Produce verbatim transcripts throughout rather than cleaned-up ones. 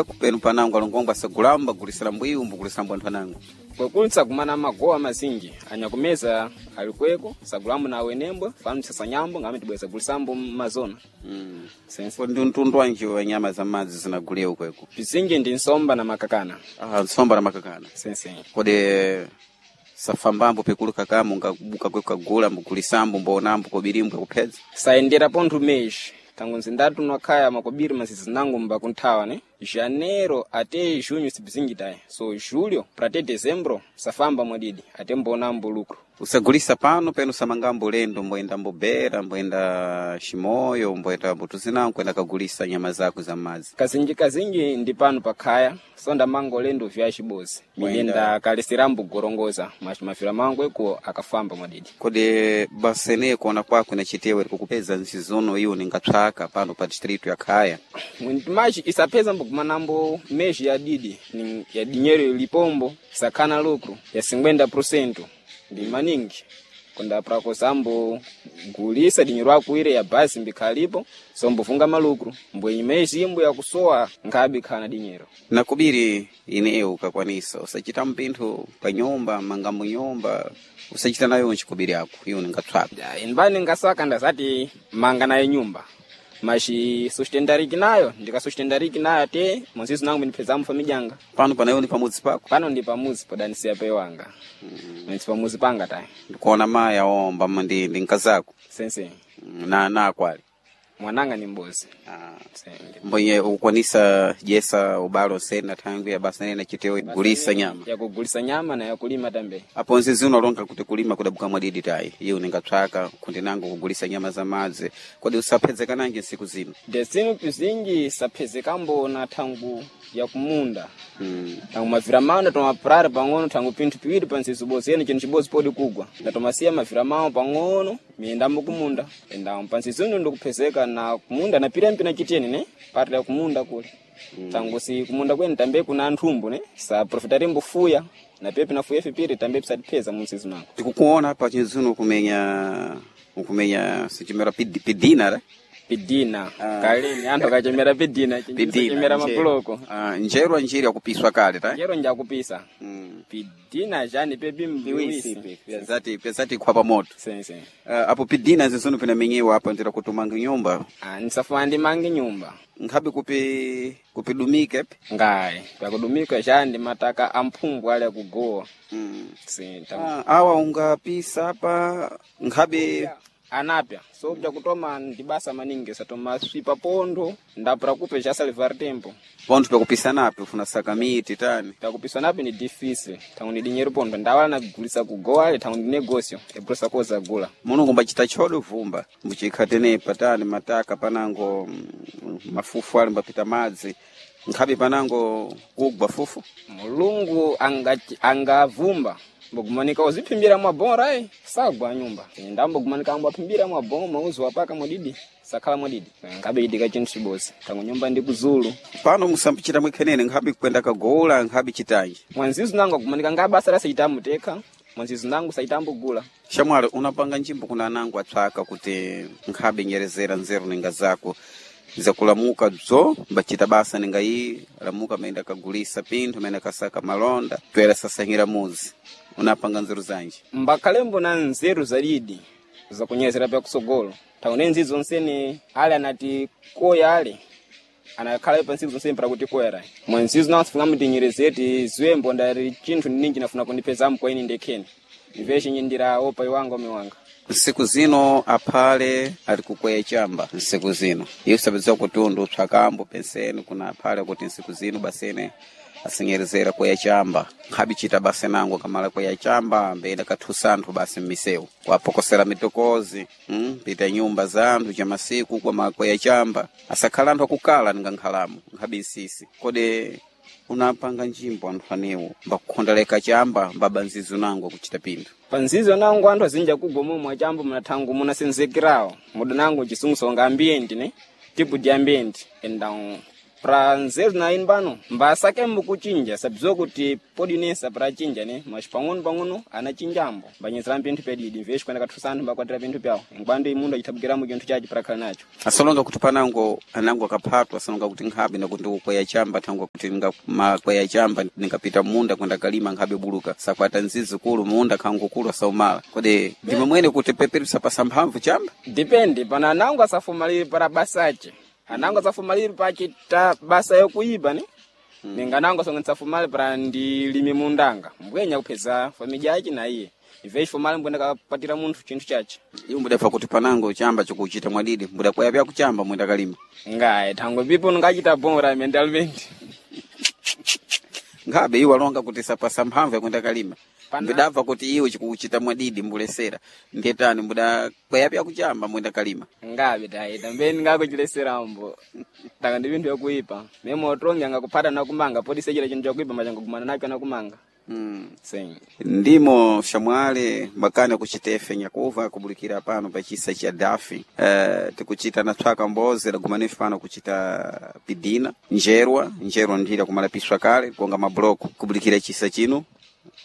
Penu panango alongongo asagulamba gulisira mbwiyu mbugulisira mbw anthu anango. Kwekulitsa kumana magowa mazinji anyakumeza alikweko sagulambo na awenembwe fanu sasanyambo ngame tibweza gulisambo mmazona. Mm. Sense. Ndi mtundu wanji wa nyama za madzi zinaguliwa kweko? Pizinji ndi nsomba na makakana. Ah, nsomba na makakana. Sense. Kodi safambambo pikulu kakamu ngabuka kwe kagula mbugulisambo mbonambo kobirimbwe kuphedza? Sayendera pontho meji tangu nzindatu nwakhaya makobiri masizi nango mbakunthawa ne janeiro ate junho sipizinji tayi so julho pra te dezembro safamba mwadidi ate mbonambo lucro. Usagulisa pano penu usamangambo lendo mboenda mbobera mboenda Chimoyo mboenda mbutuzinango kwenda kagulisa nyama zako za madzi. Kazinji kazinji ndi pano pakhaya sonda mango lendo vya chibozi minenda kalisirambo gorongoza mas mafira mango eko akafamba mwadidi. Kodi basene kuona kwako inachitewe kukupeza nsizono iyo ningatsvaka pano pa distritu ya Khaya? Machi isapeza mbokumanambo meji ya didi ni ya dinheiro ilipombo sakhana lucro ya cinquenta por cento ndi maningi konda prakosambo gulisa dinheiro akuire ya basi mbikhalipo sombofunga malucro mbwenyi meji imbo yakusowa nkhabe khana dinheiro. Nakubiri ineyo ukakwanisa usachita mpinthu pa nyumba mangambo nyumba usachita nayo nchikubiri ako iyo ningatsvaka. Ya, inbani ngasaka ndazati manga nayo nyumba machi sustentariki nayo ndikasustentariki nayo ate monzizo nangu ndipezamo famijanga. Pano panayo ni pamudzi pako? Pano ndi pamuzi podanisiya pe wanga. Mm. Pamuzi panga tayi. Ndikuona mayi aomba ndi ndi nkazako. Sense. Na na akwali. Mwananga ni mbozi. Ah. Senge. Mbonye ukwanisa jesa ubalo sena thangu ya basa nene chitewe gulisa nyama. Ya kugulisa nyama na ya kulima tambe. Apo nzizi unalonga kuti kulima kudabuka mwadidi tayi. Iye uningatsvaka kundi nango kugulisa nyama za madzi. Kodi usaphezeka nanji nsiku zino? Desinu pizinji saphezekambo na thangu ya kumunda. Mm. Tangu mavira mano tomapurari pang'ono tangu pinthu piwiri pa nzizi bozi ene chinthu chibozi podi kugwa ndatomasiya mavira mawo pang'ono miyendambo kumunda enda pa nzizi uno ndikuphezeka na kumunda na pirampi na chiteni ne pati la kumunda kule. Mm. Tangu si kumunda kwene tambe kuna anthumbu ne sa profitarimbo fuya na pepe na fuya fipiri tambe pisatipheza mu nzizi mango. Tikukuona pa chinzuno kumenya ukumenya sichimera pid, pidina ra? Pidina. Ah. Kalini anthu akachemera pidina chimera mabuloko. Ah, njerwa njiri yakupiswa kale ta? Njero njakupisa. Mm. Pidina jani pepi mbiwisi. Pyazati pyazati khwapa moto. Sense. Uh, apo pidina zizono pinamenyewa apa ndira kutumanga nyumba. Ah, nisafuna ndimange nyumba. Nkhabe kupi kupidumike pe. Ngayi, pakudumika jani mataka amphumbu ali akugowa. Mm. Si, tam- Ah, awa ungapisa apa nkhabe anapya so bzakutoma ndi basa maningi satoma swipa pondo ndapura kupe cha salvar tempo. pontho pakupisanapi ufuna saka miti tani. Pakupisa napi ni difícil thangu ni dinheiro pondo ndawala nagulisa kugowa ale thangu ndi negócio ebrusa koza gula. Mulungu mbachita chodo vumba mbuchikhatenepa tani mataka panango mm, mafufu ali mbapita madzi nkhabe panango kugwa fufu. Mulungu angavumba mbogumanika uziphimbira mwabora eh sagwa nyumba ndambogumanika ambo aphimbira mwaboma mauzi wapaka mwadidi sakhala mwadidi ngabe idika chinthu chibozi tangu nyumba ndi kuzulu. Pano musambichita mwikhenene nkhabe kwenda kagola nkhabe chitanji. Mwanzizu nangu agumanika nga basa lasichitambo tekha mwanzizu nangu sachitambo gula. Shamwali unapanga njimbo kuna anango atsvaka kuti nkhabe nyerezera nzeru ninga zako zakulamuka bzo mbachita basa ninga iyi lamuka maenda kagulisa pinthu maenda kasaka malonda twera sasanyira muzi unapanga nzeru zanji. Mbakhalembo na nzeru zalidi zakunyezera pyakusogolo taone nzizo onsene ale anati koya ale anakhala pa ntsiku zonsene para kuti koyera mwanzizo nawo sifunga mutinyerezeti ziwembo ndali chinthu ninji nafuna kundipezamo kwa ine ndekheni imve ndira opa iwanga omiwanga. Nsiku zino aphale ali kukweya chamba nsiku zino iye usapeza kutundu utsvakambo penseni kuna aphale kuti nsiku zino basene asinyerezera kweya chamba nkhabe chita basa nango kamala kweya chamba mbena kathusa anthu basi mmisewu wapokosera mitokozi mm, pita nyumba za anthu cha masiku kwa makweya chamba asakhala anthu akukala ninga nkhalamo nkhabe nsisi. Kodi unapanga njimbo anthu anewo mbakukhondaleka chamba mbaba nzizo nango kuchita pinthu. Panzizo nangu anthu azinja kugwa momwe achambo munathangu munasenzekerawo muda nangu chisunguso nga ambienti ne tipo di ambienti enda Pra nzeru na inu pano mbasake mbukuchinja sabziwa kuti podinesa pra chinja ne mas pang'ono pang'ono anachinjambo mbanyezera pinthu pedidi mveshi kwenda kathusa anthu mbakwatira pinthu pyawo nkwandi mundu achithabukiramo chinthu chachi prakhala nacho. Asolonga kuti panango anango akaphatwa asolonga kuti nkhabe nakuti ndikukweya chamba thangwa kuti makwaya chamba ningapita munda kwenda kalima nkhabe buluka sakwata nzizi kulu munda khangu kulu asaumala. Kodi ndimwe mwene kuti peperi sapasa mphamvu chamba? Depende pana anango asafumalire para basache anango asafumalire pachita basa yokuiba ne hmm. Ninga anango asonga nsafumale para ndilime mundanga mbwenya kupheza familya yace na iye ive ifumale mbwenda kapatira munthu chinthu chache. Iwo mbudafa kuti panango chamba chikuchita mwadidi mbudakwaya pya kuchamba mwenda kalima. Ngaye thango pipo ngachita bora mentalmente. Nkhabe iwo alonga kuti sapasa mphamvu yakwenda kalima. Mbudabva kuti iwe chikuchita mwadidi mbulesera ndetani mbudakwaya pya kuchamba mwenda kalima. Ngabe taita mbeni ngakuchileserambo taka ndi pinthu yakuipa meme otongi angakuphata nakumanga poti sechita chinthu chakuipa machangagumana nacho anakumanga. Mm. Sim. Ndimo shamwale makana kuchitefe nyakuva kubulikira pano pachisa cha dafi. Uh, tikuchita na tswaka mbozi lagumanifu pano kuchita pidina njerwa njerwa ndira kumalapiswa kale kuonga mabloko kubulikira chisa chino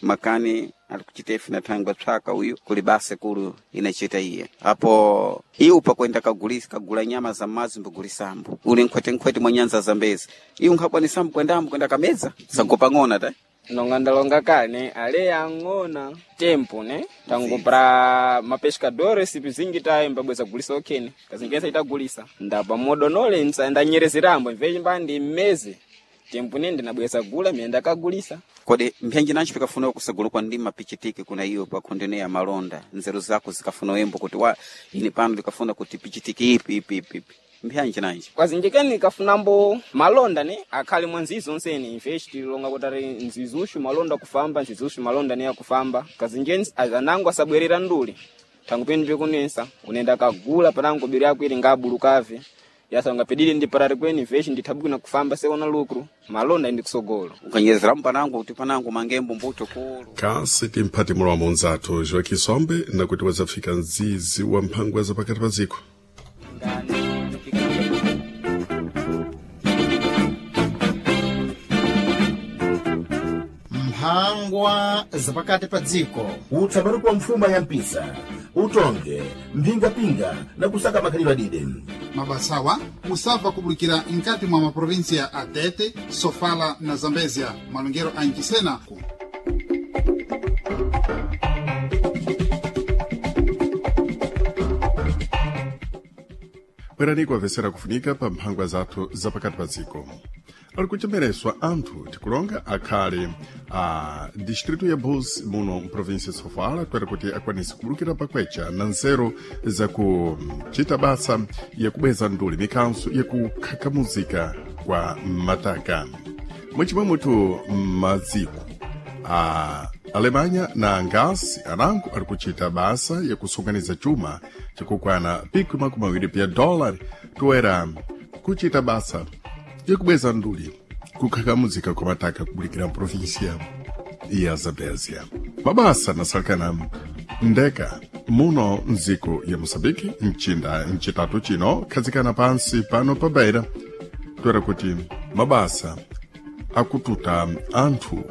makani alikuchitefe na thangwa tswaka uyu kuli basa kulu inachita iye apo iwu pakwenda kagulisa kagula nyama za mazi mbugulisambo uli nkhwete mwa nyanza zambezi iwu nkhakwanisambo kwendambo kwenda kamedza sangopang'ona ta nonga ndalonga kale ale ang'ona tempo ne tango pra mapescadores pizingi tayo mbabweza gulisa okhene kazingenza itagulisa ndapa modonole ndanyerezerambo mvechi mbandi mmeze tempo ne ndinabweza gula miyenda kagulisa. Kodi mphenji nancho pikafuna kusagula kwa ndima pichitike kuna iyo pa kondene ya malonda nzeru zako zikafuna wembo kuti wa ini pano likafuna kuti pichitike ipi ipi ipi ipi mphanji nanji kwazinjikeni kafunambo malonda ne akhale mwa nzizo onsene imvechi tilonga kuti ari nzizushu malonda kufamba nzizushu malonda ne akufamba kazinjeni anango asabwerera nduli thangu penu pikunensa unenda kagula panango biri yako ili ngabulukave yasanga pedili ndi parari kweni imvechi ndithabwina kufamba seona lucro malonda ndi kusogolo ukanyezeramu panango kuti panango mangembo mbuto kulu kasi timphati mulomo unzathu Joaquim Sombe nakuti wazafika mzizi wa mphangwa za pakati pa dziko. Mphangwa zapakati pa dziko. Utsamani kwa mfuma ya mpisa utonge mphingapinga na kusaka makhalidwe adide. Mabasawa musabva kubulikira nkati mwa maprovinsia a Tete, Sofala na Zambezia malongero a Nchisena. Bwerani kuwavesera kufunika pa mphangwa zathu zapakati pa dziko. Ali kuchemereswa anthu tikulonga akhale a distrito ya Bus muno mprovinsia ya Sofala kwera kuti akwanise kubulukira pakwecha na nzeru zakuchita basa yakubweza nduli mikanso yakukhakamuzika kwa mataka. Mwechimwe mutu maziko a Alemanha na Angasi anango ali kuchita basa yakusonkhanitsa chuma chakukwana piku makumi awiri pya dólar toera kuchita basa yakubweza nduli kukhakamuzika kwa mataka kubulikira mprovinsia ya Zambézia. Mabasa nasalekana ndeka muno mdziko ya Moçambique mchinda mchitatu chino khazikana pansi pano pa Beira toera kuti mabasa akututa anthu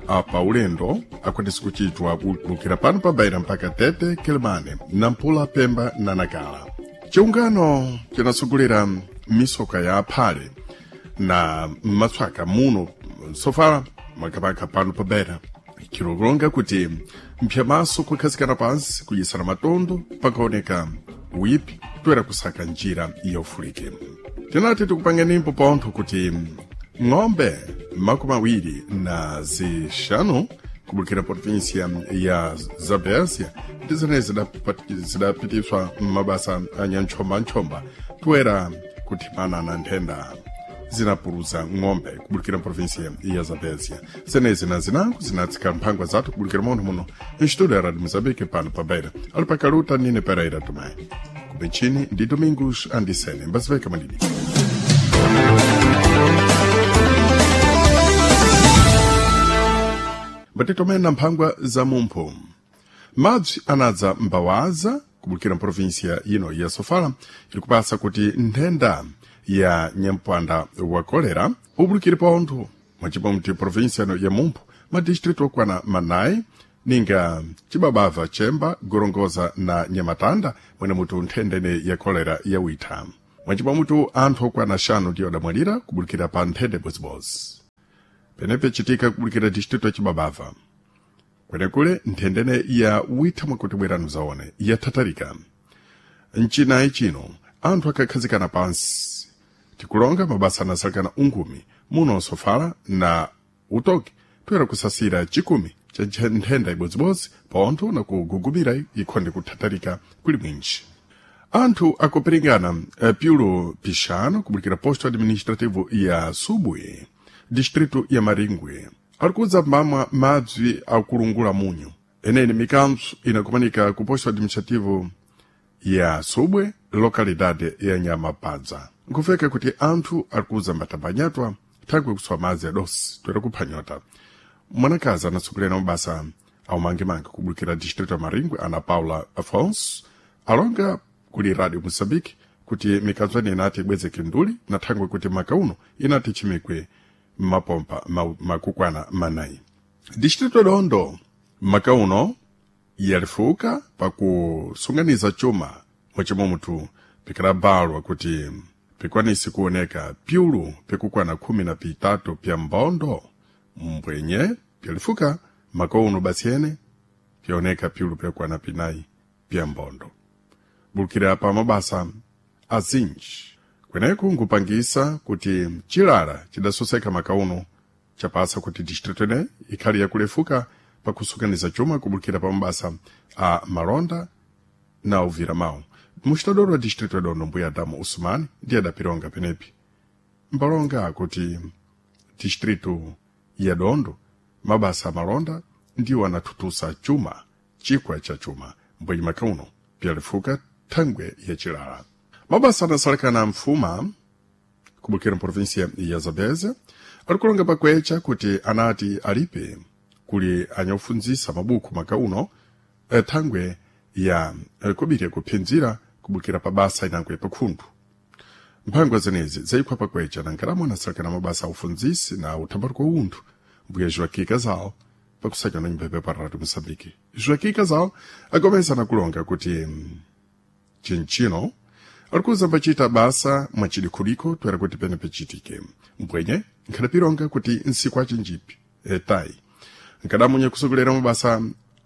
apa ulendo akwanise kuchitwa kulukira pano pa Beira mpaka Tete, Quelimane, Nampula, Pemba na Nacala. Chiungano chinasugulira misoka ya aphale na matswaka muno Sofala makamaka pano pa Beira chilolonga kuti mphyamaso kukhazikana pansi kudyisana matondo pakaoneka uyipi toera kusaka njira yaufulike. Tinati tikupangenimbo pontho kuti ng'ombe makumi awiri na zixanu kubulukira província ya Zambézia ndi zimene zidapitiswa m'mabasa a nyantchombanchomba toera kuthimana na nthenda zinapuluza ng'ombe kubulukira província ya Zambézia. Zenezi na zinango zinatsika mphangwa zathu kubulukira muno muno Instituto ya Radio Moçambique pano pa Beira. Ali pakaluta Nine Pereira Tomé kubenchini ndi Domingos Andisene mbaziveka madidi. Mbatitomena mphangwa za mumpho madzi anadza mbawaza kubulukira mprovinsia ino ya Sofala ili kupasa kuti nthenda ya nyampwanda wa kolera ubulukire pontho mwacipa mti província ya Mumpo madistritu okwana manayi ninga cibabava chemba gorongoza na nyamatanda mwene mutu nthendene ya kolera yawitha mwacipa mutu anthu okwana axanu ndiyo adamwalira kubulukira pa nthende bozibozi penepe citika kubulukira distritu ya cibabava kwenekule nthendene ya witha mwakuti bweranu zaone yathatalika mcinayi cino anthu akakhazikana pansi tikulonga mabasa anasalekana ungumi muno sofala na utoki toyera kusasira chikumi cha nthenda ibodzibodzi pontho na kugugumira ikhonde kuthatalika kuli mwinji anthu akupiringana piulo pixano kubulikira posto administrativo ya subwe distrito ya maringwe alikudza mbamwa mabzi akulungula munyu eneni mikantso inakumanika ku posto administrativo ya subwe localidade ya nyamapadza nkufeka kuti anthu alikuza mbatambanyatwa thangwe kuswa madzi adosi toera kuphwanyota mwanakazi anatsogolerana mabasa aumangemange kubulukira distrito ya maringwe ana paula afonso alonga kuli radio moçambique kuti mikanzwani inati ibwezeke nduli na thangwe kuti maka uno inati chimikwe mapompa ma, makukwana manayi distrito dondo maka uno yalifuka pakusunganiza chuma mwachimwe mutu pikalabalwa kuti pikwanise kuoneka pyulu pikukwana khumi na pitatu pya mbondo mbwenye pyalifuka maka uno basi ene pyaoneka pyulu pyakwana pinayi pya mbondo bulukira pa mabasa azinji kweneku nkupangisa kuti chilala chidasoseka maka uno chapasa kuti distrito ene ikhali yakulefuka pakusukaniza chuma kubulukira pa mabasa a malonda na uvira mawu muxitadoro wa distrito ya dondo mbuya adamu usumani ndiye adapilonga penepi mbalonga kuti distrito ya dondo mabasa a malonda ndiwo anathutusa chuma chikwa cha chuma mbwenye maka uno pyalifuka thangwe ya chilala mabasa anasalekana mfuma kubukira mprovinsia ya zambezia alikulonga pakwecha kuti anati alipe kuli anyakufunzisa mabuku maka uno thangwe ya kubiri kuphinzira kubukira pa basa inangwe pakhundu mphangwa zenezi zayikhwa pakwecha na nkalamo anasalekana mabasa aufunzisi na uthambaluko unthu mbuya joaquim casal pakusakana na nyumba pa radio moçambique joaquim casal agomeza na kulonga kuti chinchino alikuza mbachita basa mwachidikhuliko toera kuti pene pechitike mbwenye nkhadapilonga kuti nsiku achinjipi etayi nkadamunya kusogolera mabasa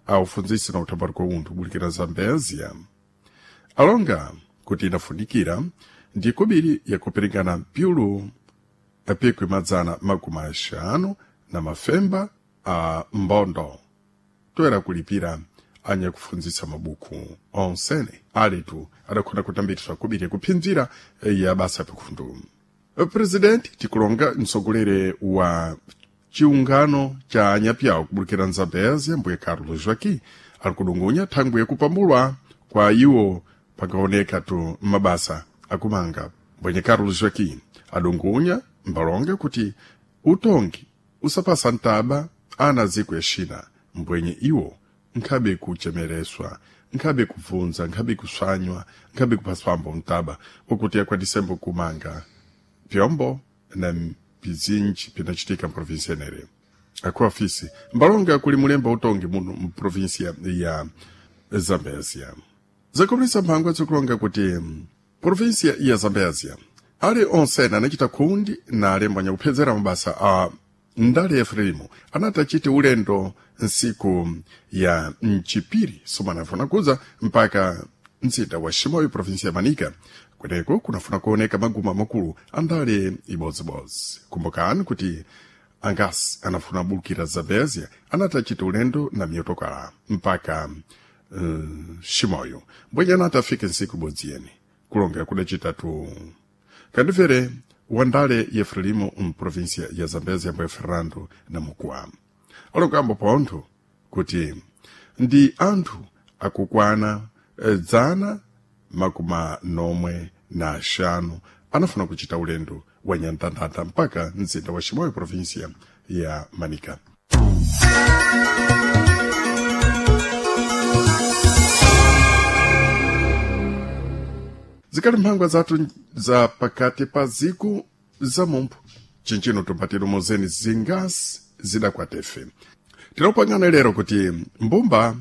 aufunzisi na uthambaluko unthu bulikira zambezia alonga kuti inafunikira ndi kobiri yakuperekana pyulu apikwi madzana makumi axanu na mafemba a mbondo toera kulipira anyakufunzisa mabuku onsene alitu adakhona kutambiriswa kobiri yakuphinzira ya basa pakhundu presidenti tikulonga mtsogoleri wa chiungano cha anyapyawo kubulukira nzambezia mbuye carlos joaquim ali kudungunya thangwe yakupambulwa kwa iwo pakaoneka tu mabasa akumanga mbwenye carlos joaquim adungunya mbalonga kuti utongi usapasa ntaba ana ziko yaxina mbwenye iwo nkhabe kuchemereswa nkhabe kubvunza nkhabe kuswanywa nkhabe kupaswambo mtaba wakuti akwatisembo kumanga pyombo na pizinji pinachitika mprovinsia enere akuafisi mbalonga kuli mulemba utongi muno mprovinsia ya zambezia zakomeresa mphangwa zikulonga kuti provinsia ya zambezia ali onsene anachita khundi na alembo anyakuphedzera mabasa a ndale efrelimo anati achite ulendo nsiku ya mchipiri somanafuna kuza mpaka mzinda wa Shimoyo provinsia ya Manica kweneko kunafuna kuoneka maguma makulu andale ibodzibodzi kumbukani kuti angasi anafuna bulukira Zambezia anati achite ulendo na miyotokala mpaka uh, Shimoyo mbwenye anati afike nsiku ibodzi yene kulongera kudacitatu kandifere wandale yefrelimo mprovinsia ya Zambezia mbwe Fernando Namukwa alongambo pontho kuti ndi anthu akukwana dzana makumi nomwe na axanu anafuna kuchita ulendo wa nyantantanta mpaka mzinda wa Shimoyo provinsia ya Manica. Zikali mphangwa zathu za pakati pa ziku za mumphu cinjino tumpatire mozeni zingasi zidakwatefe. Tinopangana lero kuti mbumba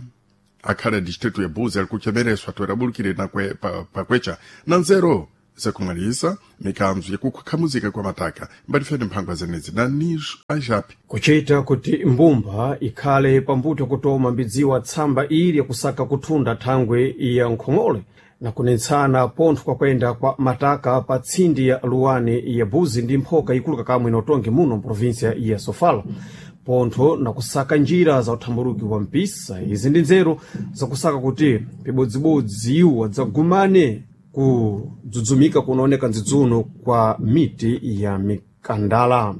akhale distritu ya Buzi ali kuchemereswa toerabulukire nakwe pa, pakwecha na nzeru zakumwalisa mikanzo yakukhamuzika kwa mataka mbatifeni mphangwa zenezi na nijo ajapi Kuchita kuti mbumba ikhale pambuto kutoma mbidziwa tsamba ili yakusaka kuthunda thangwe ya nkhong'ole na kunetsana pontho kwakwenda kwa mataka pa tsindi ya luwani ya Buzi ndi mphoka ikulu kakamwe inotonge muno mprovinsia ya Sofala, pontho na kusaka njira za uthamburuki wa mpisa. Izi ndi nzeru zakusaka kuti pibodzibodzi iwo adzagumane kudzudzumika kunaoneka ndzidzuno kwa miti ya mikandala.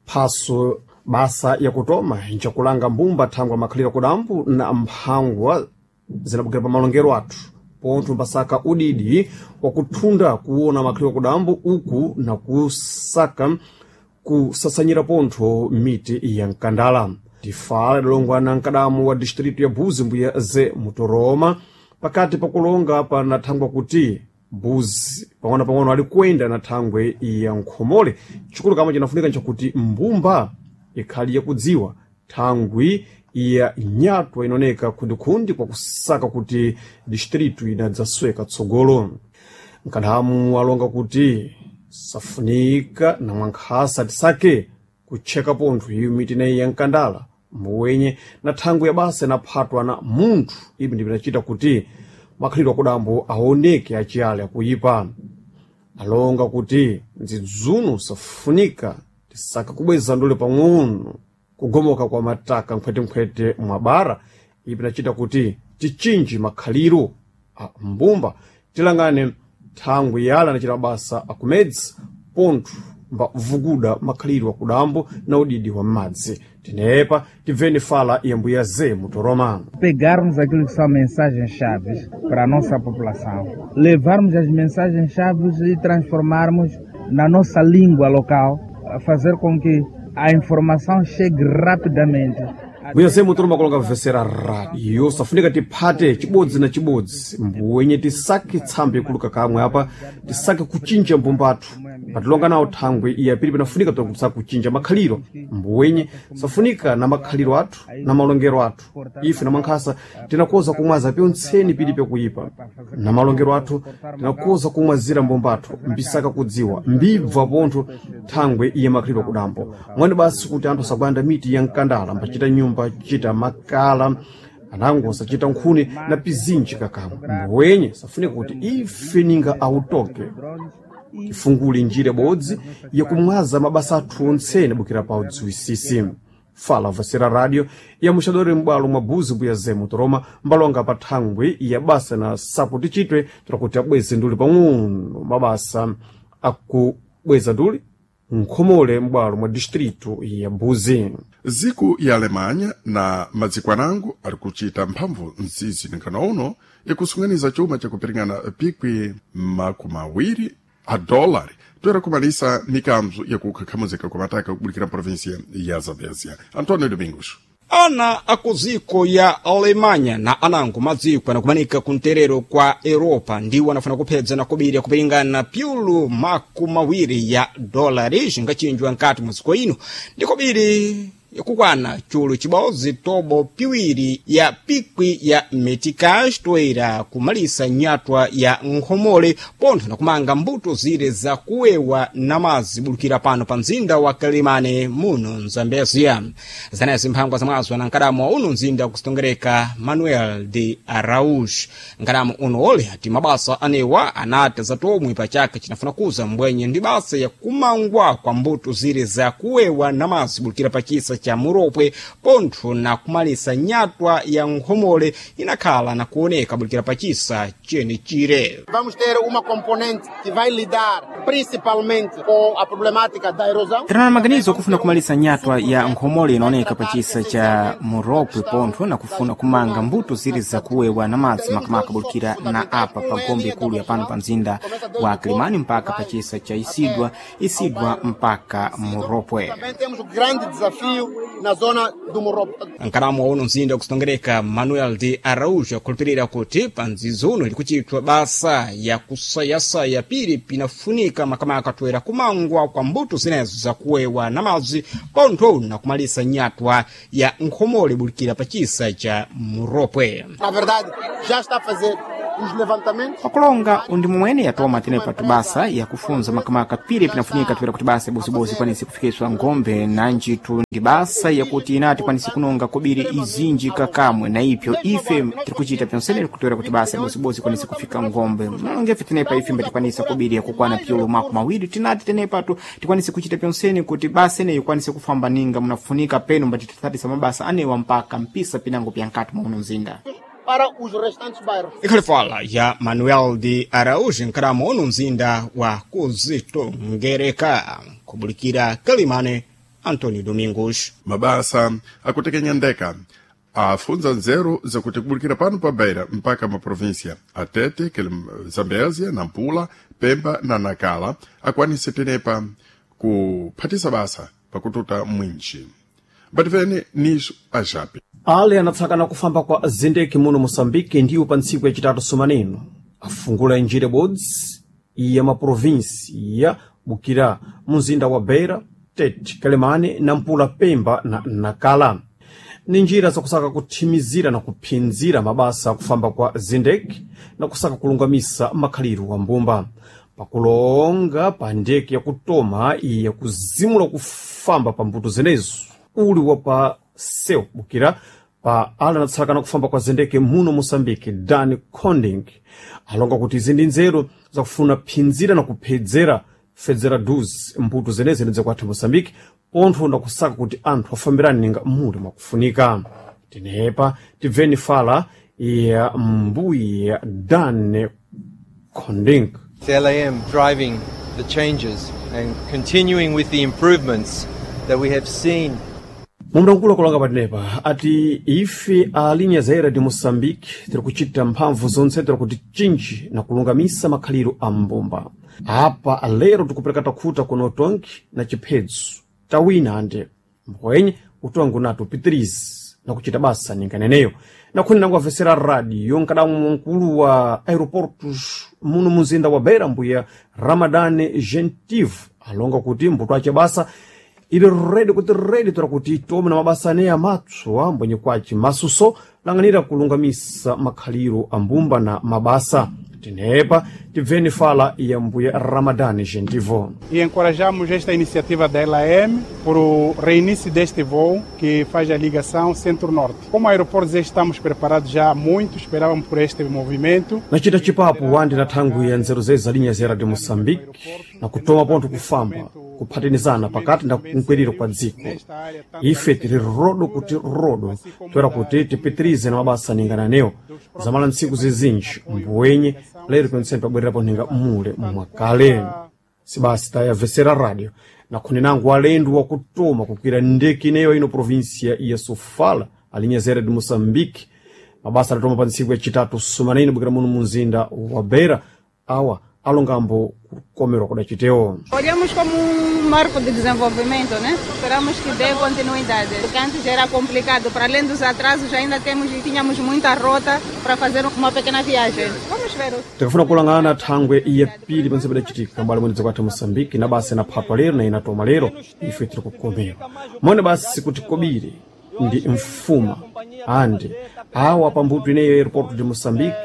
Phaso basa yakutoma ncakulanga mbumba thangwa makhalira kudambu na mphangwa zinabukira pa malongero athu, pontho mbasaka udidi wakuthunda kuona makhalira kudambu uku na kusaka kusasanyira pontho miti ya mkandala. Tifala idalongwana mkadamu wa distritu ya Buzi mbuya ze Mutoroma pakati pakulonga panathangwa kuti Buzi pang'ono-pang'ono ali kuyenda na thangwe ya nkhomole. Chikulu kamwe chinafunika nchakuti mbumba ikhali yakudziwa thangwi ya nyatwa inaoneka khundikhundi kwa kusaka kuti distritu inadzasweka tsogolo. Mkadamu alonga kuti safunika na mwankhasa tisake kutcheka pontho iyo miti ineyi ya mkandala mbuwenye na thangwi ya basa inaphatwa na munthu. Ibi ndipinachita kuti makhalidwe akudambo aoneke achiyale akuyipa. Alonga kuti ndzidzuno safunika tisaka kubweza ndule pang'ono kugomoka kwa mataka mkhwetenkhwete mwa bara. Ibi pinachita kuti tichinji makhaliro a mbumba tilangane thangwi yala anachita mabasa akumedzi pontho mbavuguda makhaliro akudambo na udidi wa m'madzi. Tenepa tibveni fala ya mbuya ze Mutoroma. Pegarmos aquilo que são mensagens-chave para a nossa população, levarmos as mensagens-chave e transformarmos na nossa língua local, fazer com que a informação chegue rapidamente. Mbuya ze Mutoroma kulonga vesera radio safunika tiphate chibodzi na chibodzi mbuwenye tisake tsambe ikuluka kamwe apa tisake kuchinja mbumbathu patilonga nawo thangwi iya pili pinafunika kusaka kuchinja makhaliro mbuwenye safunika na makhaliro athu na malongero athu. Ife na mwankhasa tinakoza kumwaza pyontseni pili pyakuyipa na malongero athu tinakoza kumwazira mbumbathu mbisaka kudziwa mbibva pontho thangwi iye makhaliro kudambo mwani basi kuti anthu asagwanda miti ya mkandala mbachita nyumba chita makala anango sachita nkhuni na pizinji kakamwe. Mbuwenye safunika kuti ife ninga autoke tifungule njira ibodzi yakumwaza mabasa athu ontsene bukira pa udziwisisi. Fala vasera radio ya muxadori m'bwalo mwa Buzi mbuya ze Mutoroma mbalonga pa thangwi ya basa na sapo tichitwe tirakuti abweze nduli pang'ono mabasa akubweza nduli nkhomole m'bwalo mwa distritu ya Buzi. Ziku ya Alemanha na madziko anango ali kuchita mphamvu nzizi ninkano uno ikusunganiza chuma chakupiringana pikwi makumi awiri a dólar toera kumalisa mikanzo yakukhakhamuzika kwa mataka kubulikira província ya Zambézia. António Domingos. Ana akuziko ya Alemanha na anango madziko anakumanika kunterero kwa Europa ndiwo anafuna kuphedza na kubiri akupiringana pyulu makumi awiri ya dolari zingachinjwa nkati mwa dziko ino ndi kubiri yakukwana chulu chibodzi tobo piwiri ya pikwi ya meticage toera kumalisa nyatwa ya nkhomole pontho nakumanga mbuto zire zakuwewa na madzi bulukira pano pa mzinda wa Kalimane muno Mzambezia. Zanezi mphangwa zamwazo na nkadamo wa uno mzinda kusitongereka Manuel de Araújo. Nkadamo uno ole ati mabasa anewa anati zatomwe pachaka chinafuna kuza mbwenye ndi basa ya kumangwa kwa mbuto zire zakuwewa na madzi bulukira pachisa cha Muropwe pontho na kumalisa nyatwa ya nkhomole inakhala na kuoneka bulukira pachisa chene chire. Vamos ter uma componente que vai lidar principalmente com a problemática da erosão. Tiri na maganizo okufuna kumalisa nyatwa ya nkhomole inaoneka pachisa cha Muropwe pontho na kufuna kumanga mbuto ziri zakuwewa na madzi makamaka bulukira na apa pa gombe ikulu ya pano pa mzinda wa Kilimani mpaka pachisa cha Isidwa, Isidwa mpaka Muropwe. Também temos o grande desafio na zona do Morrope. Nkalamu wa uno mzinda wakusitongereka Manuel de Araújo akhulupirira kuti pa mzizi uno likuchitwa basa ya kusayasaya pili pinafunika makamaka toera kumangwa kwa mbuto zinezo zakuwewa na madzi pontho na kumalisa nyatwa ya nkhomole bulikira pa chisa cha Muropwe. Na verdade, já está a fazer os levantamentos. Pakulonga undi momwene yatoma tenepa tubasa yakufunza makamaka pili pinafunika toera kuti basa ibozibodzi ikwanise kufikiswa ngombe na njitu ndi basa yakuti inati ikwanise kunonga kobiri izinji kakamwe na ipyo ife tirikuchita pyonsene kutoera kuti basa ibozibodzi ikwanise kufika ngombe nongefe tenepa ife mbatikwanisa kobiri yakukwana pyulo mako mawiri tinati tenepatu tikwanise kuchita pyonsene kuti basa ineyi ikwanise kufamba ninga munafunika penu mbatithatisa mabasa anewa mpaka mpisa pinango pyankati mwa uno mzinda Para os restantes bairros. Ikhalifala ya Manuel de Araújo nkalamu uno mzinda wa kuzitongereka kubulikira Kalimane Antonio Domingos. Mabasa akutekenya ndeka afunza nzeru zakuti kubulikira pano pa Beira mpaka maprovinsia Atete, Zambézia, Nampula, Pemba na Nacala akwanise tenepa kuphatisa basa pakututa mwinji bativene niso ajape Ale anatsakana kufamba kwa zindeki muno Moçambique ndiwo pa ntsiku yacitatu sumaneno afungula njira ibodzi ya maprovinsi ya Bukira mumzinda wa Beira, Tete, Quelimane, Nampula, Pemba na Nacala. Ni njira zakusaka kuthimizira na kuphinzira mabasa akufamba kwa zindeki na kusaka kulungamisa makhaliro wa mbumba pakulonga pa ndeke yakutoma iya kuzimula kufamba pa mbuto zenezo uli wa pa seu bukira pa ala anatsakana kufamba kwa zendeke muno Moçambique Dan Conding alonga kuti izi ndi nzeru zakufuna phinzira na kuphedzera fedzera dus mbuto zeneze ndidzakwatha Moçambique pontho na kusaka kuti anthu afambirane ninga muli mwakufunika tinepa tibveni fala ya mbuya Dan Conding. It's L A M driving the changes and continuing with the improvements that we have seen. Mumdankulo kulonga patenepa ati ife a linha zaira de Moçambique tiri kuchita mphamvu zonse tiri kuti chinji na kulungamisa makhaliro a mbumba apa lero tikupereka takhuta kuno utongi na chiphedzo tawina ande mbwenye utongi unati upitirize na kuchita basa ninganeneyo nakhuni nangu avesera radio nkadamu mkulu wa aeroportos muno muzinda wa Beira mbuya Ramadane Gentive alonga kuti mbuto ache basa ili redi kuti redi tora kuti tome na mabasa aneya amatswa mbwenye kwaci masuso lang'anira kulungamisa makhaliro a mbumba na mabasa tinepa tibveni fala ya mbuya Ramadane Gentivo. E encorajamos esta iniciativa da L A M por o reinício deste voo que faz a ligação Centro-Norte. Como aeroportos estamos preparados já há muito, esperávamos por este movimento. Nachita chipapo wandi na thangwi ya nzeru zezi za linha zera de Moçambique na kutoma pontho kufamba kuphatinizana pakati na kunkwiriro kwa dziko ife tiri rodo kuti rodo toera kuti tipitirize na mabasa ningananewo zamala ntsiku zizinji mbuwenye lero pentseni pabwererapo ninga mule mwakale sibasi tayavesera radio nakhuni nangu alendo wakutoma kukwira ndeke ineyo ino provinsia ya Sofala alinha zera de Moçambique mabasa adatoma pa ntsiku yacitatu sumanene bukira muno munzinda wa Beira awa alongambo kukomerwa kudacitewo. Olhamos como um marco de desenvolvimento, né? Esperamos que dê continuidade, porque antes era complicado. Para além dos atrasos, ainda temos, tínhamos muita rota para fazer uma pequena viagem. Vamos ver. Tikafuna kulangana thangwe ya pili panse padacitika mbali mwene dziko athu Moçambique na basa inaphatwa lero na inatoma lero ife tiri kukomerwa mone basi kuti kobiri ndi mfuma ande awa pambuto ineyo aeroporto de Moçambique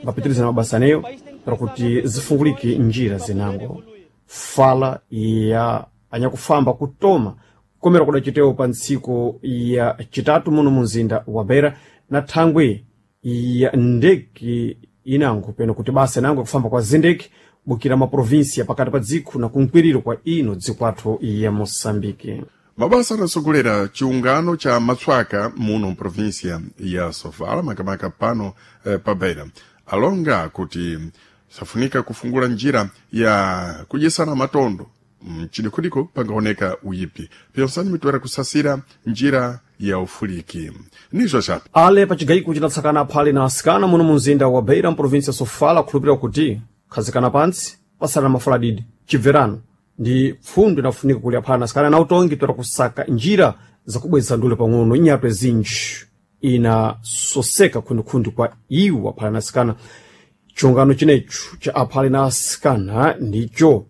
mbapitiriza na mabasa aneyo para kuti zifungulike njira zinango fala ya anyakufamba kutoma kukomera kudacitewo pa ntsiku ya chitatu muno munzinda wa Beira na thangwe ya ndeke inango peno kuti basa inango yakufamba kwa zindeke bukira maprovinsia pakati pa dziko na kunkwiriro kwa ino dziko athu ya Moçambique. Mabasa anasogolera chiungano cha matswaka muno mprovinsia ya Sofala makamaka pano eh, pa Beira alonga kuti safunika kufungula njira ya kudyesana matondo mchidikudiko pangaoneka uyipi pyonsani mitwera kusasira njira ya ufuliki nizo chape Ale pachigayiko chinatsakana aphale na asikana muno munzinda wa Beira mprovinsia ya Sofala akhulupirira kuti khazikana pantsi pasana mafaladidi chibverano Ndi pfundo inafunika kuli aphale na asikana na utongi toera kusaka njira zakubweza ndule pang'ono inyatwe zinji inasoseka khundikhundi kwa iwo aphale na asikana. Chungano chinecho cha aphale na asikana ndicho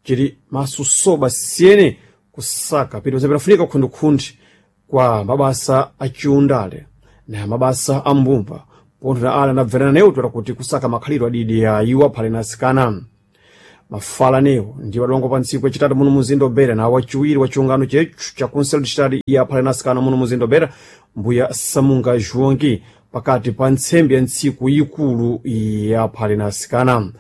chili masusoba siyene kusaka pili pamene pinafunika khundikhundi kwa mabasa achiundale na mabasa a mbumba pontho na ala anabverana newo toera kuti kusaka makhalidwe adidi ya iwo aphale na asikana. Mafala newo ndi adongo pa ntsiku yachitatu muno muzinda obera na wachiwiri wa chiungano chechu cha kunselo chitatu ya aphale na asikana muno muzinda obera mbuya Samunga Juongi pakati pa ntsembe ya ntsiku ikulu ya aphale na asikana.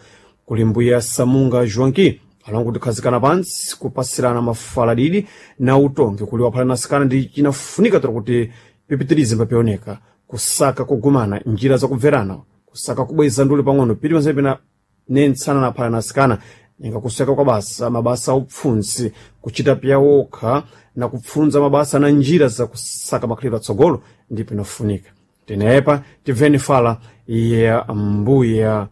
Kuli mbuya Samunga Juongi alongo tikhazikana pantsi kupasirana mafala didi na utongi kuli waphale na asikana ndi chinafunika toera kuti pipitirize mbapioneka kusaka kugumana njira zakubverana kusaka kubweza ndule pang'ono pili panse pena nentsana na aphale na asikana ninga kuseka kwa basa mabasa aupfunzi kuchita pya wokha na kupfunza mabasa na njira za kusaka makhalidwe atsogolo ndipo inafunika. Tenepa tibveni fala ya mbuya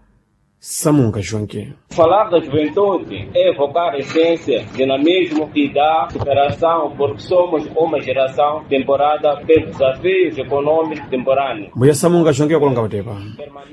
Samunga Joaquim. Falar da juventude é evocar a essência, dinamismo e da superação, porque somos uma geração temporada pelos desafios econômicos temporâneos. Mbuya Samunga Joaquim akulonga patepa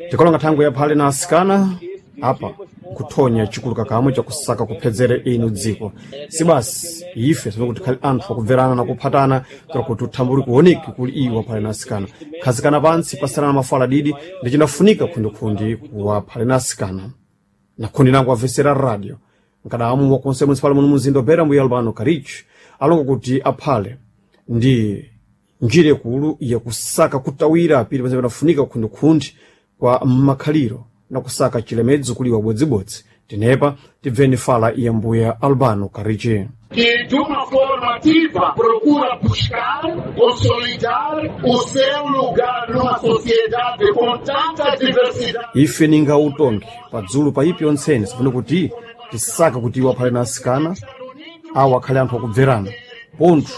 tikolonga thangwe ya phale na asikana apa kuthonya chikuluka kamwe chakusaka kuphedzere inu dziko si basi ife tinokuti khali anthu akubverana na kuphatana kuti uthambuli kuoneki kuli iwo aphale na asikana khazikana pantsi pasirana mafala didi ndi chinafunika khundikhundi kuwa aphale na asikana. Na khundi nangu amvesera radio nkadamu wa konse municipal muno muzinda obera mbuya Albano Karichi alonga kuti aphale ndi njira ikulu yakusaka kutawira pili pamene panafunika khundikhundi kwa makhaliro na kusaka chilemedzo kuliwa bodzibodzi. Tenepa tibveni fala ya mbuya Albano Karichi. Que de uma forma ativa procura buscar, consolidar o seu lugar numa sociedade com tanta diversidade. Ife ninga utongi padzulu pa ipi ontsene sifuna kuti tisaka kuti iwo aphale na asikana awo akhale anthu akubverana pontho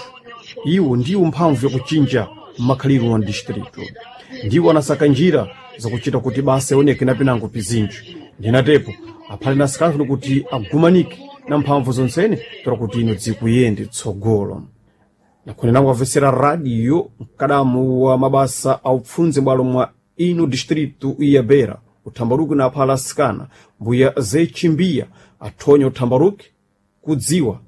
iwo ndiwo mphamvu yakuchinja makhalidwe wa distrito ndiwo anasaka njira zakuchita kuti basa ioneke na pinango pizinji. Ndinatepo aphale na asikana funa kuti agumanike na mphamvu zonsene toera kuti ino dzikuyende tsogolo. Nakhone nangu amvesera radio mkadamu wa mabasa aupfunze bwalo mwa ino distrito ya Beira uthambaruki na aphala asikana mbuya Zechimbiya athonya uthambaruki kudziwa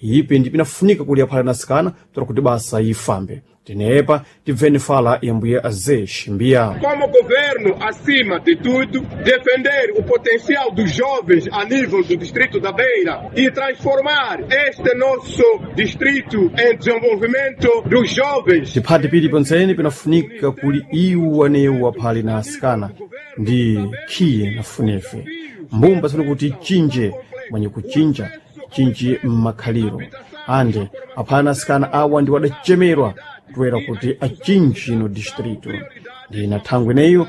ipi ndi pinafunika kuli aphale na asikana toera kuti basa ifambe. Tenepa tibveni fala ya mbuya Zechimbiya. Como governo, acima de tudo, defender o potencial dos jovens a nível do distrito da Beira e transformar este nosso distrito em desenvolvimento dos jovens. Tiphati pili pontsene pinafunika kuli iwo anewo aphale na asikana ndi khiye nafunefe mbumba sifuna kuti chinje mwenye kuchinja chinji mmakhaliro ande aphale na asikana awa ndi wadachemerwa toera kuti achinji no distrito. Ndina thangwe ineyo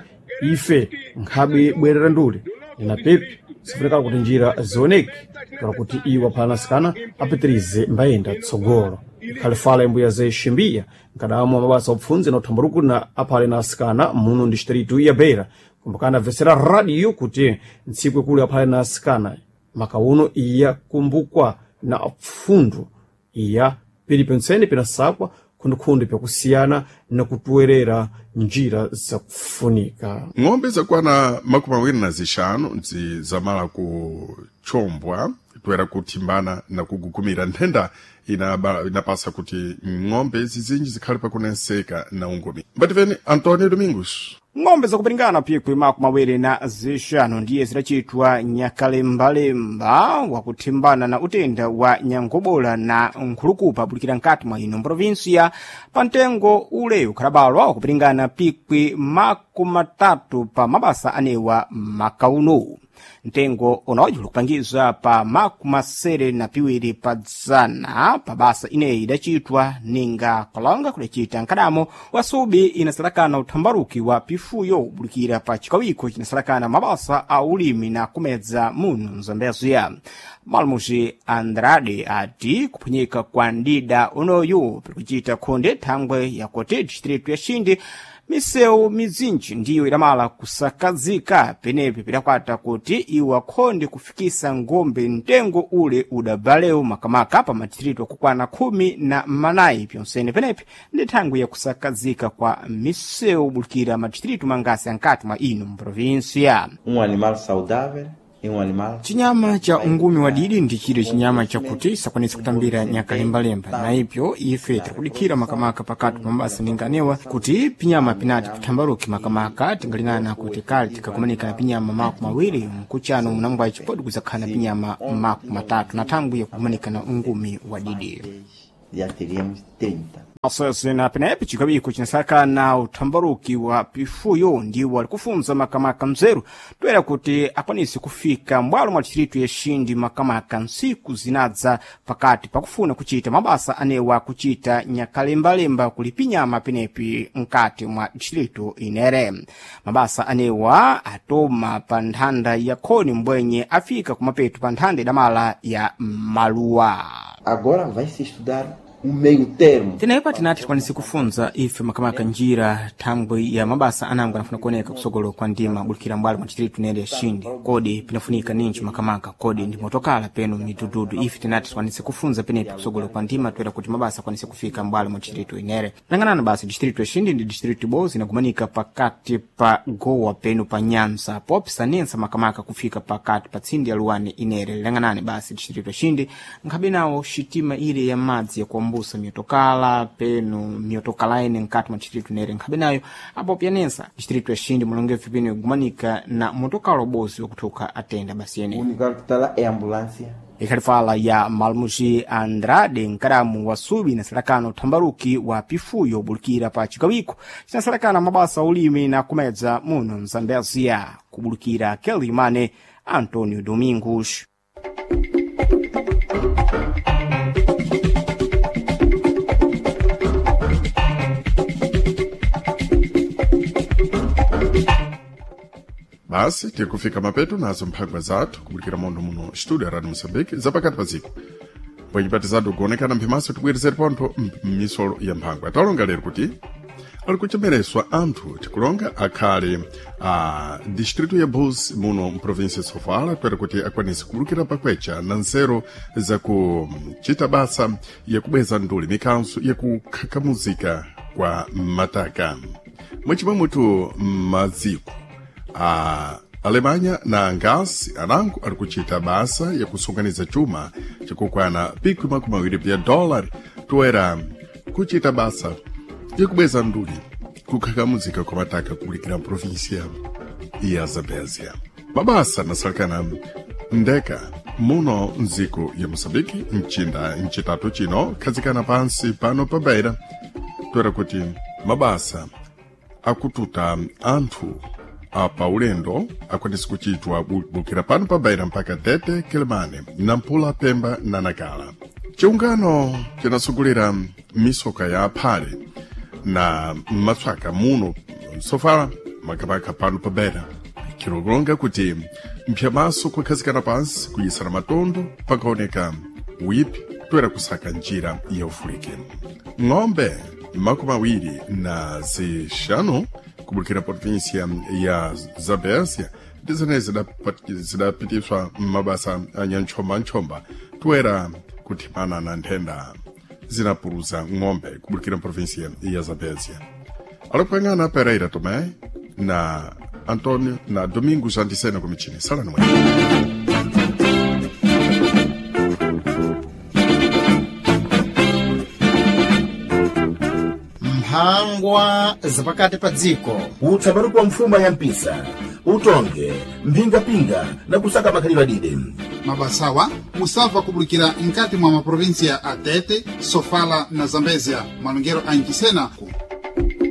ife nkhabe bwerera ndule ndina pepi sifunikala kuti njira zioneke toera kuti iwo aphale na asikana apitirize mbayenda tsogolo. Ikhale fala imbuya Zechimbiya nkadamu wa mabasa opfunze na uthambaruku na aphale na asikana muno distrito ya Beira. Kumbukana amvesera radio kuti ntsiku ikulu aphale na asikana makauno iya kumbukwa na pfundu iya pili pentsene pinasakwa khundikhundi pyakusiyana na kutowerera njira zakufunika. Ng'ombe zakwana makumi awiri na zixanu nzi zamala kuchombwa toera kuthimbana na kugugumira nthenda inaba, inapasa kuti ng'ombe zizinji zikhale pakunenseka na ungomi. Mbativeni Antonio Domingos. Ng'ombe zakupiringana pikwi makumi awiri na zixanu ndiye zidacitwa nyakalembalemba wakuthimbana na utenda wa nyangobola na nkhulukupa abulikira nkati mwa ino mprovinsia pa mtengo ule ukhalabalwa wakupiringana pikwi makumi matatu pa mabasa anewa makauno. Mtengo unaoji ulikupangizwa pa makumi masere na piwiri pa dzana pa basa ineyi idacitwa ninga kalonga kudacita nkadamo wa subi inasalakana uthambaruki wa pifuyo ubulikira pa chikawiko cinasalakana mabasa a ulimi na kumedza muno mzambeziya. Malmuji Andrade ati kuphwanyika kwa ndida unoyu pirikucita khonde thangwe yakuti distritu ya Xindi Misewu mizinji ndiyo idamala kusakazika penepi pidakwata kuti iwo akhonde kufikisa ngombe mtengo ule udabalewu makamaka pa madistritu akukwana khumi na manayi pyonsene penepi ndi thangwi yakusakazika kwa misewu bulikira madistritu mangasi ankati mwa ino mprovinsia. Um animal saudável e um animal Chinyama cha ungumi wadidi ndi chire chinyama chakuti sakwanisa kutambira nyakalembalemba, na ipyo ife tirikudikhira makamaka pakati pa mabasa ninganewa kuti pinyama pinati pithambaruke makamaka tingalinana kuti kale tikakumanika na pinyama maku mawiri mkuchano munangwaci podi kuzakhala na pinyama maku matatu na thangwi yakukumanika na ungumi wadidi. Já teríamos trinta. Asosena penepi chikawiko chinasakana uthambaruki wa pifuyo ndiwo ali kufunza makamaka mzeru toera kuti akwanise kufika mbwalo mwa distritu ya Xindi makamaka ntsiku zinadza pakati pakufuna kuchita mabasa anewa kuchita nyakalembalemba kuli pinyama penepi mkati mwa distritu inere. Mabasa anewa atoma pa nthanda ya khoni mbwenye afika kumapeto pa nthanda idamala ya maluwa. Agora vai se estudar um meio termo. Tenepa tinati tikwanise kufunza ife makamaka njira thangwi ya mabasa anango anafuna kuoneka kusogolo kwa ndima bulikira mbwalo mwa distritu nene ya Xindi. Kodi pinafunika ninji makamaka, kodi ndi motokala peno midududu ife tinati tikwanise kufunza penepi kusogolo kwa ndima toera kuti mabasa akwanise kufika mbwalo mwa distritu inere. Lang'anana basi distritu ya Xindi ndi distritu ibodzi inagumanika pakati pa Gowa peno pa Nyanza popisanensa makamaka kufika pakati pa tsindi ya Luwani inere. Lang'anani basi distritu ya Xindi nkhabe nawo xitima ile ya madzi yakuambusa miotokala peno miotokala ene nkati mwa distritu nere nkhabe nayo apo pianensa distritu ya Xindi mulongevu peno igumanika na motokala ubozi wakuthuka atenda basi ene. O único carro que está lá é a ambulância. Ikhalifala ya Malmuji Andrade nkadamu wa Subi na salakano uthambaruki wa pifuyo bulikira pa chikawiko cinasalakana mabasa ulimi na kumedza muno mzambezia kubulikira Kelimane Antonio Domingos. Basi tikufika mapeto nazo mphangwa zathu kubulikira mondo muno studio ya Radio Mozambique zapakati pa dziko bwenyipatizatu kuonekana mphimaso tibwerezere pontho m'misolo ya mphangwa. Talonga lero kuti ali kuchemereswa anthu tikulonga akhale a distrito ya Bus muno mprovinsia ya Sofala kwera kuti akwanise kubulukira pakwecha na nzeru zakuchita basa yakubweza nduli mikanso yakukhakamuzika kwa mataka mwachimwemutu maziko a Alemanha na Angasi anango ari kuchita basa yakusunganiza chuma chikukwana pikwi makumi awiri bya dólar toera kuchita basa yakubweza nduli kukhakamuzika kwa mataka kubulikira mprovinsia ya Zambézia. Mabasa nasalekana ndeka muno mdziko ya Moçambique mchinda mchitatu chino khazikana pansi pano pa Beira toera kuti mabasa akututa anthu apa ulendo akwanisa kuchitwa bukira pano pa Beira mpaka Tete, Quelimane, Nampula, Pemba na Nacala. Chiungano cinasugulira misoka ya aphale na matswaka muno Sofala makamaka pano pa Beira chilolonga kuti mphyamaso kukhazikana pansi kuyisana matondo pakaoneka uyipi toera kusaka njira ya ufulike. Ng'ombe makumi awiri na zixanu kubulikira província ya Zambézia ndi zimene zidapitiswa m'mabasa a nyanchombanchomba toera kuthimana na nthenda zinapuluza ng'ombe kubulikira província ya Zambézia. Alipwang'ana Pereira Tomé na Antonio na Domingos Antisena kumichini. Salani mwene. Mphangwa zapakati pa dziko. Utsambaruko wa mfuma ya mpisa utonge mphingapinga na kusaka makhalidwe adide. Mabasawa musabva kubulikira nkati mwa maprovinsia a Tete, Sofala na Zambezia malongero a Nchisena.